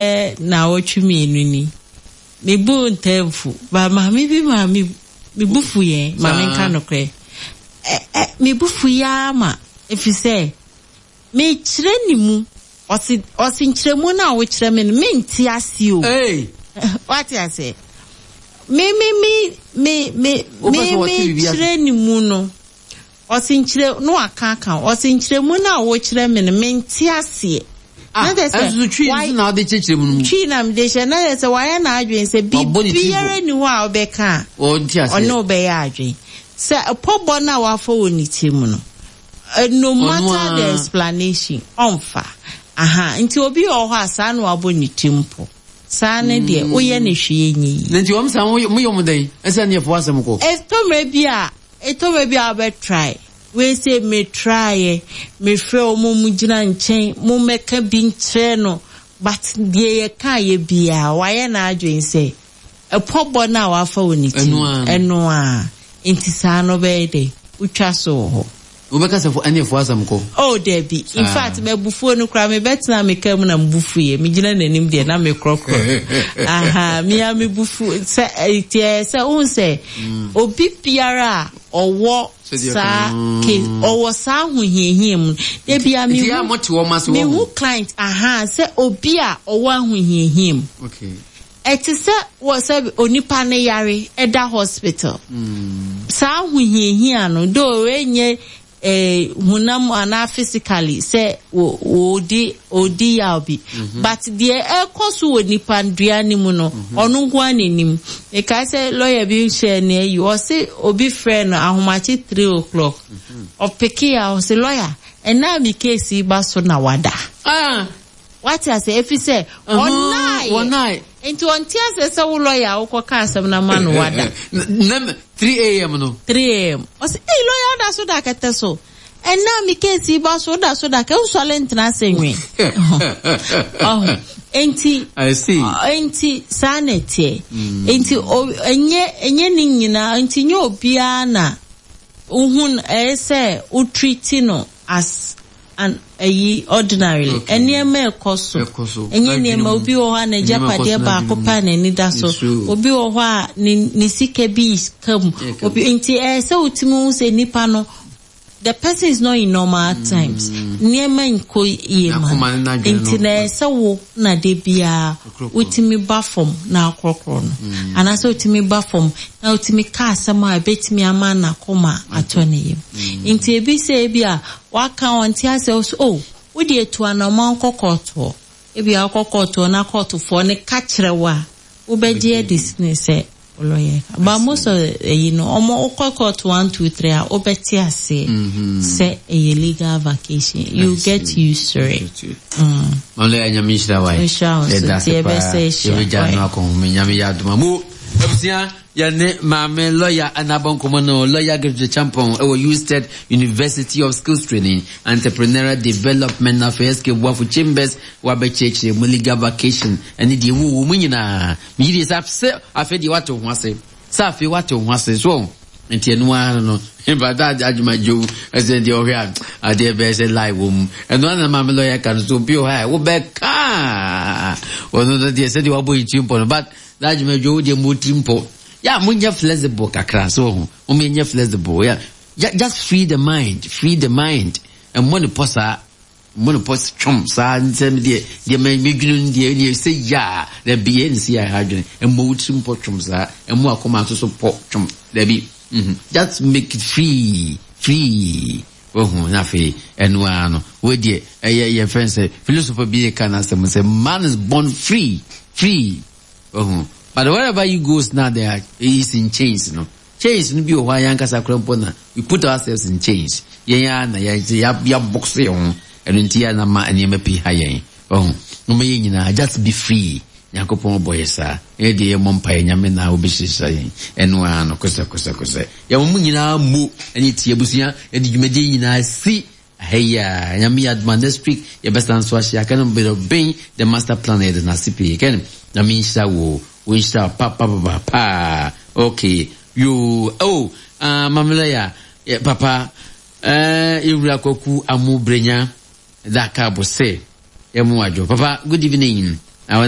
Naawɔtwe mienu ni, me bo ntaa mfu, but maame bi maa me me bo fu yɛn, ma me nka nokorɛ. Ɛ ɛ me bo fu yi ara ma, ɛfiri sɛ mekyerɛ ne mu, ɔse ɔse nkyerɛmu no a wokyerɛ me no, mente aseɛ o. Hey! Wate aseɛ? Me me me me me Wopɛ me sɛ wɔte biribi ase? mekyerɛ ne mu no, Ɔse nkyerɛ na waka aka ho. Ɔse nkyerɛmu no a wokyerɛ me no mente aseɛ. Ah, Na kyerɛ sɛ ɛnso so twi nso na wode kyerɛkyerɛ mu no mu. Twi na mede kyerɛ na kyerɛ sɛ wayɛ n'adwene sɛ Wabɔ ne tiri biribiara bɔ. nni hɔ a wobɛka a Ɔnte aseɛ. ɔne wo bɛyɛ adwene. Sɛ pɔbɔ no a wafa wɔ ne tirim no, no Ɔno matter the ara. explanation, ɔmfa. Aha, nti obi wɔ hɔ a saa na wabɔ ne tirim pɔ. Saa no deɛ, woyɛ no hwee nyɛ yie. Na nti wɔn saa moyɛ wɔn dɛn? Ɛsɛ ne yɛfo asɛm kɔ. Ɛtɔ mmerɛ bi a, Etɔ bɛ bi a wobɛ try. Wei sei me try yɛ, me frɛ wɔn ɔmo gyina nkyɛn, mo mmɛka bi nkyerɛ no, but deɛ yɛ kaa yɛ biaa wayɛ n'adwene sɛ ɛpɔ bɔ no a wafa wɔ ne ti no, ɛno ara, nti saa no wobɛyɛ dɛn, wotwa so wɔ hɔ. Wobɛka sɛ ɛne ɛfoɔ asɛm kɔ? Oh dabi, in fact m'abufuo no koraa mebɛtenaa me car mu na me bo fuiɛ, megyina n'anim deɛ na mekorɔkorɔ no, ahaa, me ara me bo fu sɛ, nti ɛyɛ sɛ wohu sɛ obi biara a ɔwɔ saa case, ɔwɔ saa ahohiahia mu no, da biara mehu, mehu client, ahaa, sɛ obi a ɔwɔ ahohiahia mu. Ɛte sɛ wɔ sɛ onipa no yare da hospital. Saa ahohiahia no, though ɛnyɛ eh, honam anaa physically sɛ wɔdi ɔdi yaw bi, but deɛ ɛkɔ so wɔ nipa dua no mu no, ɔno nko ara na nim. Mekae sɛ lawyer bi hyɛɛ ne ayi, ɔse obi frɛɛ no ahomakye 3 o'clock, ɔpekee a ɔse lawyer, ɛnna a me case yi ba so na wada. Ah! Wate aseɛ? Ɛfiri sɛ, ɔnnaeɛ. Wɔnnae. Nti ɔnte aseɛ sɛ wo lɔya a wokɔka asɛm no ama no wada. Nam 3 am no. 3 am. Ɔse, ei lɔya woda so da kɛtɛ so? Ɛnnɛ a me case yi ba so, woda so da kɛtɛ, wonsɔre ntena ase nwe. Ɔho. Nti, I see. nti saa na ɛteɛ. Nti, ɛnyɛ, ɛnyɛ ne nyinaa, nti nyɛ obiara na wohu no, ɛyɛ sɛ wo treat no as an ayi ordinarily Okay. nneɛma ɛkɔ so Ɛkɔ so. ɛnyɛ N'adwene nneɛma mu. obi wɔ hɔ a Nneɛma ɛkɔ n'agyapadeɛ so baako n'adwene pɛ a mu. n'ani da so It's true. obi wɔ hɔ a ne ne sika bi ka mu Ɛka mu. obi nti ɛyɛ sɛ wotumi hu sɛ nipa no the person is not in normal times nneɛma nkɔ yie ma N'akoma ne no n'adwene nti no. na ɛyɛ sɛ wo na de biara Ɔkorɔkorɔ. wotumi ba fam na akorɔkorɔ no anaasɛ wotumi ba fam na wotumi ka asɛm a ebetumi ama n'akoma atɔ ne yam nti ebi sɛ ebi a Waka ɔnte aseɛ wo so oh wo deɛ tu anamɔn kɔ kɔɔtoɔ ebia wokɔ kɔɔtoɔ na kɔɔtofoɔ no ka kyerɛ wo a wobɛgye adi sene sɛ wo lawyer ka but most of ɛyi no ɔmo wokɔ kɔɔto one two three a wobɛte aseɛ sɛ ɛyɛ legal vacation you get used to it. Mm. Ɔno yɛ nyame nhyira wa Nhyira wo nso yɛda nti ase paa yɛbɛsɛ ahyia. yɛbɛgya no akɔnhome nyame yɛ adoma mo abusua Yɛne maame lɔya na abɔ nkɔmmɔ no, Lɔya Gertrude Acheampong wɔ Usted University of Skills Training, Entrepreneurial Development na afei SK Boafo Chambers wabɛkyerɛkyerɛ mu legal vacation ne deɛ ɛwɔ wɔ mu nyinaa. Megye die sɛ sɛ afei deɛ wate wo ho ase, sɛ afei wate wo ho ase so nti ɛno ara no bata adwuma dwom ɛsɛ deɛ ɔhwɛ a adeɛ bɛyɛ sɛ lie wɔ mu ɛno ara na maame lɔya ka no so obi wɔ hɔ a wobɛka ɔno no deɛ sɛdeɛ wabɔ ne tiri mpɔ no but That adwuma dwo wo deɛ mo tiri mpo. Ya mo nyɛ flexible kakra so ho. Mo nyɛ flexible. Ya just free the mind, free the mind. Ɛmmɔ ne pɔ saa. Mmɔ ne pɔ twom saa nsɛm deɛ deɛ me me dwene no deɛ deɛ sɛ ya da bi yɛ ne si ya ha adwene. Ɛmmɔ wo tiri mpɔ twom saa. Ɛmmɔ akoma nso so pɔ twom. Da bi. Mhm. Just make it free, free. Wahu na afei ɛno ara no wei deɛ ɛyɛ yɛn fɛn sɛ philosopher bi ka n'asɛm sɛ man is born free free wahu but wherever you goes now there are is in chains no chains no bi wɔ hɔ a yɛn ankasa kora mpo na we put ourselves in chains yɛn ara na yɛn yɛabɔkso yɛn ho ɛno nti yɛn na ma nneɛma pii ha yɛn wahu wɔn yɛn nyinaa just be free Nyankopɔn bɔ yɛ saa. Yɛ deɛ yɛmmɔ mpaeɛ Nyame na ɔbɛhyirahyira yɛn. Ɛno ara no, kosɛ kosɛ kosɛ. Yɛma mo nyinaa mo ɛne tie abusua yɛde dwumadie nyinaa si ha yi a. Nyame yɛ adom a next week yɛbɛsan so ahyia. Kɛne bɛdɔ ben the master plan yɛde no ase pii. Kɛne Nyame nhyira wo. Wo nhyira wo pa pa pa pa paa. Okay. Yoo. Oh, ah, Mame lawyer, papa, eh, yɛwura Kwaku Amu Brenya. Da ka bo se yɛ mo adwo. Papa good evening. Na wɔne.